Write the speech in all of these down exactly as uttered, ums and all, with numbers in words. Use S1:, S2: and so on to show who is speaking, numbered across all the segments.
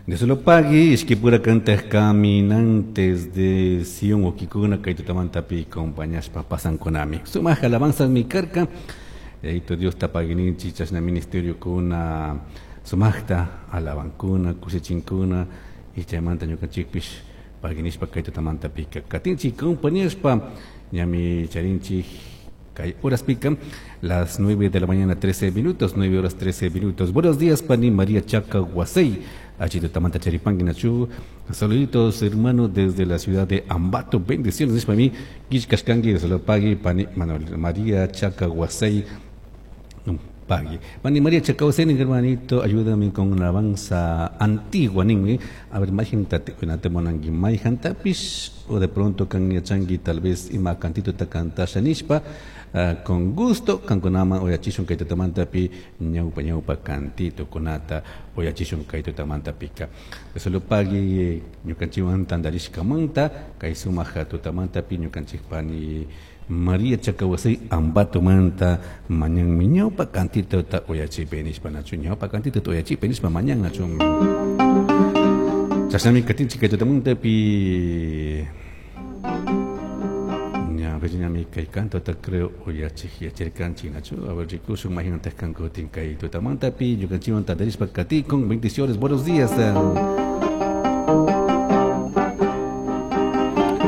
S1: Dios lo pague, ishkipura cantag caminantes de Sion wawkikuna kay tutamantapi compañashpa pasankunami. Sumak alabanzas mi karka, Yayito Diosta paguininchik chashna ministerio kuna sumakta alabankuna, kushichinkuna y chaymanta ñukanchikpish paguinishpa kay tutamantapika katinchik compañashpa ñami charinchik kay horaspika las nueve de la mañana trece minutos, nueve horas trece minutos. Buenos días, Pani María Chaca Guasey. Allí tutamanta charipanqui nachu. Saluditos, hermano, desde la ciudad de Ambato. Bendiciones para mí. Kishkashkangi, se lo pague, Pani Manuel María Chaca Guasey. Pague. Pani María Chaca Guasey, hermanito, ayúdame con una alabanza antigua, ninmi. A ver, majintate, te monangi, maijantapis, o de pronto kan yachangi, tal vez ima cantito ta cantasha nishpa. Uh, con gusto kankunama oyachishun kay tutamantapi ñawpa ñawpa cantito kunata oyachishun kay tutamantapika solo pagui ñukanchikwan tantarishkamanta kay sumaq tutamantapi ñukanchikpani María Chacawasay Ambatomanta mañanmi ñawpa cantito ta oyachipi nishpa nachu ñawpa cantito ta oyachipi nishpa mañan nachu chashnami katinchik kay tutamantapi. Ñami kay canto ta creo oyachik yachirkanchik nachu a ver rikushun mahinantaj kankutin kay tutamantapi ñukanchikwan tantarishpa katikun. Bendiciones, buenos días.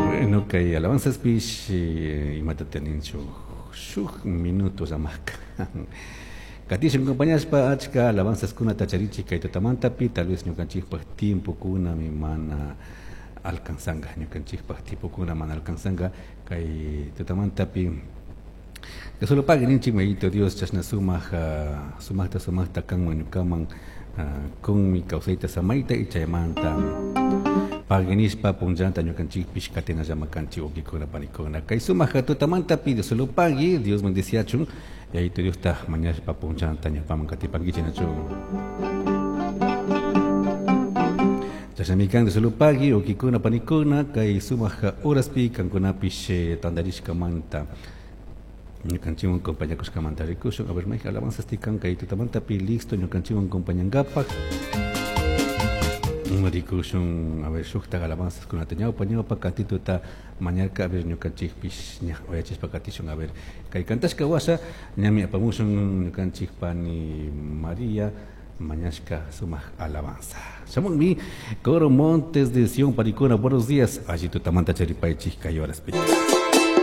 S1: Bueno, kay alabanzaspish imata teninchu shuk minutos amaka katishun compañashpa achka alabanzaskunata charichik kay tutamantapi tal vez ñukanchikpaj tiempokuna mi mana alcanzanga ñukanchikpaj tipokuna mana alcanzanga kay tutamantapi que solo paguen ninchik mayito Dios chashna sumaq sumaqta sumaqta kanman ñukaman con mi kawsayta samayta y chaymanta paguinishpa punllanta ñukanchikpish katina llamakanchik wawkikuna panikuna kay sumaq tutamantapi Dios solo pagui Dios bendiciachun yayito Diosta mañashpa punllanta ñupaman katipankichik nachu. Chashnamikan de solo pagui wawkikuna panikuna kay sumaq horaspi kankunapish tantarishkamanta ñukanchikwan compañakushkamanta rikushun. A ver, mayqa alabanzas tikan kay tutamantapi listo ñukanchikwan compañankapaq rikushun. A ver, shukta alabanzas kunata ñawpa ñawpa cantituta mañarka a ver ñukanchikpish ña oyachishpa katishun. A ver, kay kantashka washa ñami apamushun ñukanchik pani María mañashka sumaq alabanza. Shamunmi Coro Montes de Sion Paricuna, buenos días. Allí tutamanta charipaychik kay horaspi.